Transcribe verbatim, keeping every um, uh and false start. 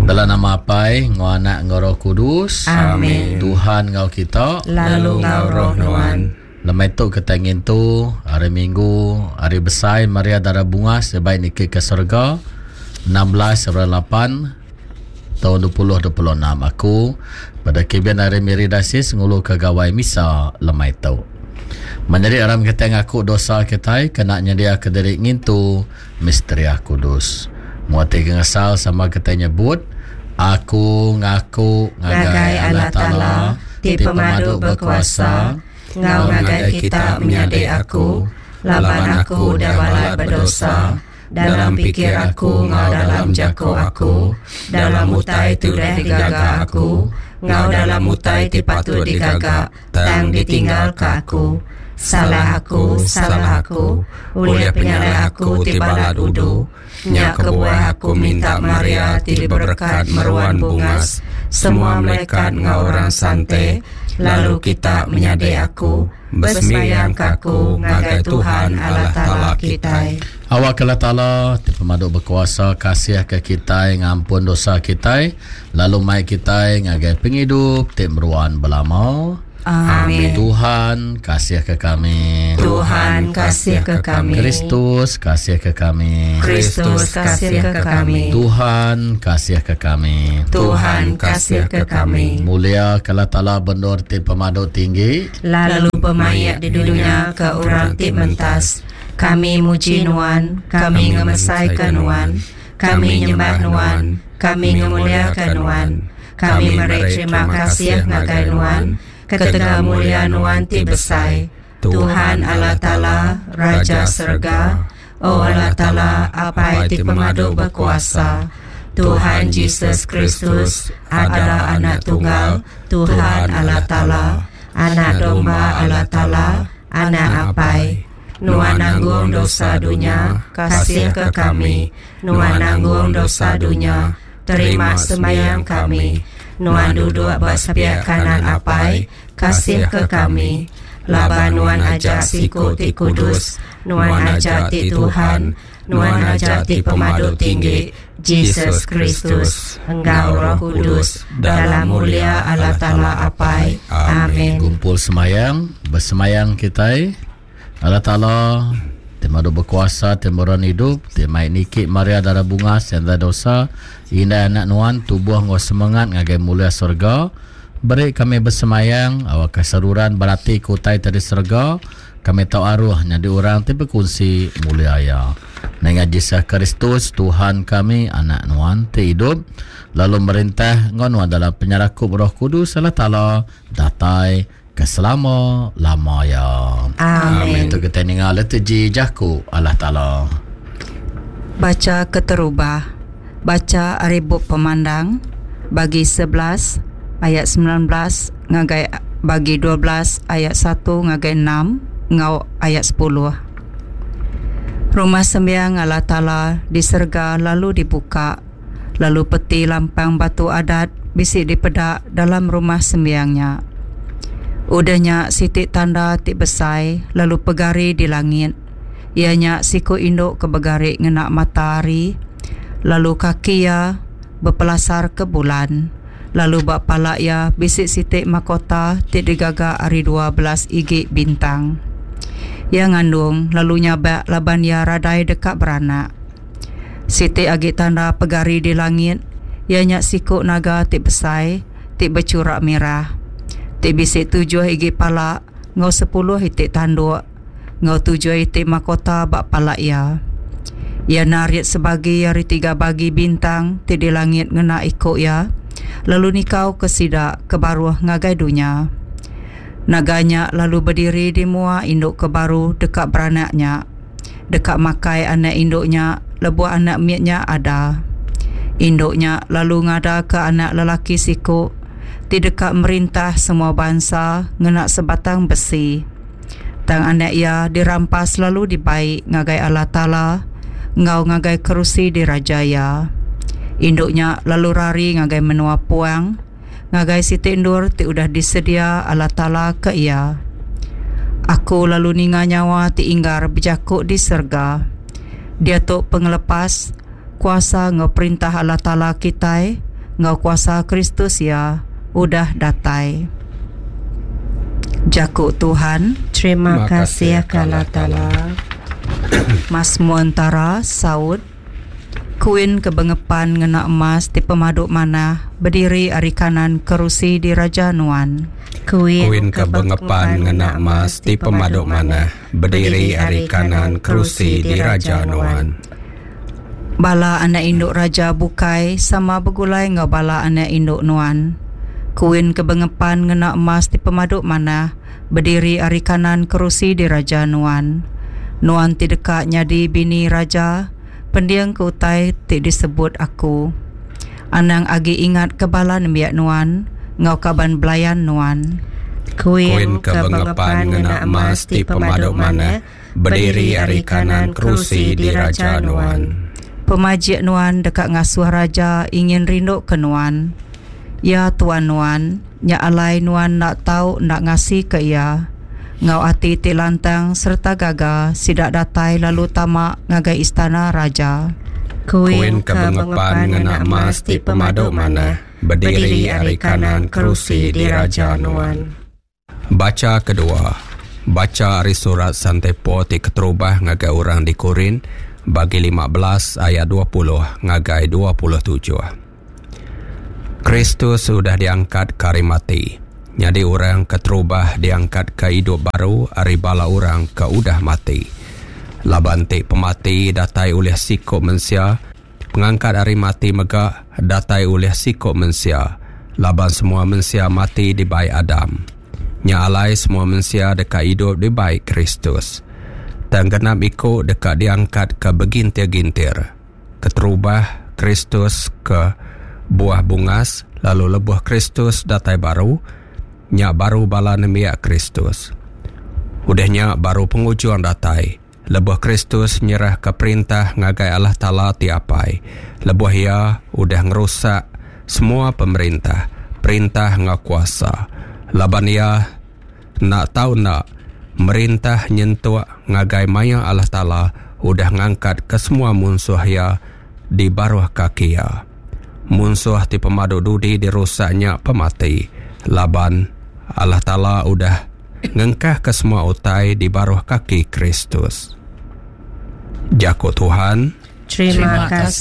Dalam nama Apai, ngau Anak, ngau Roh Kudus. Amin. Tuhan ngau kita, lalu ngau roh nuan. Lemai tu kita ngintu hari Minggu, hari besai Maria Dara Bungas sebaik niki ke surga enam belas lapan tahun dua ribu dua puluh enam. Aku pada Kevin hari Miri Dasis ngulu ke gawai misa lemai tu. Menjadi aram kita ngaku dosa kita kena nyedia ke diri ngintu misteri kudus. Muati ngesal sama kita nyebut aku ngaku ngagai Allah Taala ti pemadu berkuasa ngau ngagai kita menyadi aku laban aku udah balat berdosa dalam pikir aku ngau dalam jako aku dalam utai ti udah digaga aku ngau dalam utai ti patut digaga tang ditinggal ke aku. Salah aku, salah aku, oleh penyalah aku ti balat udu. Nya kebuah aku minta Maria ti diberkat meruan bungas semua malaikat ngau orang sante, lalu kita menyadi aku bersemayang ke aku ngagai Tuhan Allah Taala kita. Awak Allah Taala ti pemadu berkuasa kasih ke kita ngampun dosa kita lalu mai kita ngagai penghidup ti meruan belama. Amin. Tuhan kasih ke kami. Tuhan kasih ke kami. Kristus kasih ke kami. Kristus kasih ke kami. Tuhan kasih ke kami. Tuhan kasih ke kami. Mulia ke Allah Taala bendor ti pemadu tinggi, lalu pemayak di dunia ke orang ti mentas. Kami muji nuan, kami ngemesaikan nuan, kami nyembah nuan, kami ngemuliakan nuan. Kami meri terima kasih ngagai nuan ketegal mulia nuan ti besai. Tuhan Allah Taala Raja Serga, O Allah Taala Apai ti pemadu berkuasa, Tuhan Jesus Kristus adalah anak tunggal Tuhan Allah Taala, anak domba Allah Taala, anak Apai. Nuan nanggung dosa dunia, kasih ke kami. Nuan nanggung dosa dunia, terima semayang kami. Nuan duduk ba sepiak kanan Apai, kasih ke kami. Laban nuan ajak siku ti kudus, nuan ajak ti Tuhan, nuan ajak ti pemadu tinggi, Jesus Kristus, enggau Roh Kudus, dalam mulia Allah Taala Apai. Amin. Kumpul semayang, bersemayang kita. Allah Taala ti madu berkuasa, ti meruan hidup, ti mai niki Maria Dara Bungas yang ada dosa, indah anak nuan tubuh ngau semangat ngagai mulia surga. Beri kami bersemayang awak keseruran berarti kutai tadi surga, kami tahu aruh nyadi orang ti berkongsi mulia ya. Dengan Jesus Kristus Tuhan kami, anak nuan ti hidup lalu merintah ngau nuan dalam penyerakup Roh Kudus Allah Taala datai keselama lama ya. Amin. Itu kita dengar liturgi jaku Allah Taala. Baca keterubah. Baca ari bup pemandang bagi sebelas ayat sembilan belas ngagai bagi dua belas ayat satu ngagai enam ngau ayat sepuluh. Rumah sembiang Allah Taala di serga lalu dibuka, lalu peti lampang batu adat bisi dipedak dalam rumah sembiangnya. Udahnya sitik tanda ti besai lalu pegari di langit. Ianya siku induk ke begari ngena matahari, lalu kaki ia berpelasar ke bulan. Lalu bak pala ia bisik sitik mahkota ti digaga ari dua belas igi bintang. Ia ngandung lalu nyabak laban ia radai dekat beranak. Sitik agi tanda pegari di langit, ianya siku naga ti besai ti bercurak merah. Ti bisik tujuh igi pala ngau sepuluh itik tanduk ngau tujuh itik mahkota bak pala ia. Ia narik sebagi ari tiga bagi bintang ti di langit ngena ikuk ia, lalu nikau ke sidak ke baruh ngagai dunia. Naganya lalu berdiri di mua induk ke baru dekat beranaknya, dekat makai anak induknya, lebuh anak mietnya ada. Induknya lalu ngada ke anak lelaki siku, ti dekat merintah semua bangsa ngena sebatang besi. Tang anak ia dirampas lalu dibaik ngagai Allah Taala ngau ngagai kerusi di raja ia. Induknya lalu rari ngagai menua puang, ngagai siti endur ti udah disedia Allah Taala ke ia. Aku lalu ninga nyawa ti inggar bejakuk di serga. Dia tu pengelepas kuasa ngau perintah Allah Taala kitai enggau kuasa Kristus iya udah datai. Jaku Tuhan. Terima kasih ke Allah Taala. Masmur entara saut Kuin ke bengepan ngena emas ti pemadu manah bediri ari kanan kerusi diraja nuan. Kuin ke bengepan ngena emas ti pemadu manah bediri ari kanan kerusi diraja nuan. Bala anak induk raja bukai sama begulai enggau bala anak induk nuan. Kuin ke bengepan ngena emas ti pemadu manah bediri ari kanan kerusi diraja nuan. Nuan ti deka nyadi bini raja, pending ke utai ti disebut aku. Anang agi ingat ke bala nembiak nuan, enggau kaban belayan nuan. Kuin ke bengepan ngena emas ti pemadu manah bediri ari kanan kerusi diraja nuan. Pemajik nuan deka ngasuh raja ingin rindu ke nuan. Ya tuan nuan, nya alai nuan nak tau nak ngasi ke ia. Ngau ati ti lantang serta gaga sidak datai lalu tamak ngagai istana raja. Kuin ke bengepan ngena emas ti pemadu manah bediri ari kanan kerusi diraja nuan. Baca kedua. Baca ari surat Sante Paul ti keterubah ngagai orang di Korin bagi lima belas ayat dua puluh ngagai dua puluh tujuh. Kristus sudah diangkat ke hari mati. Jadi orang keterubah diangkat ke hidup baru ari bala orang ke udah mati. Laban ti pemati datai oleh sikop mensia, pengangkat ari mati mega datai oleh sikop mensia. Laban semua mensia mati di baik Adam. Nya alai semua mensia dekat hidup di baik Kristus. Tang genap iku dekat diangkat ke begintir-gintir. Keterubah Kristus ke buah bungas, lalu lebuh Kristus datai baru, nya baru bala nembiak Kristus. Udahnya baru pengujung datai. Lebuh Kristus nyerah ke perintah ngagai Allah Taala ti apai. Lebuh ia udah ngerusak semua pemerintah, perintah ngau kuasa. Laban ia nak tau nak merintah nyentuk ngagai maya Allah Taala udah ngangkat ke semua munsuh ia di baruh kaki ia. Munsuh ti pemadu dudi dirusaknya pemati. Laban Allah Taala udah ngengkah ke semua utai di baruh kaki Kristus. Jaku Tuhan. Terima kasih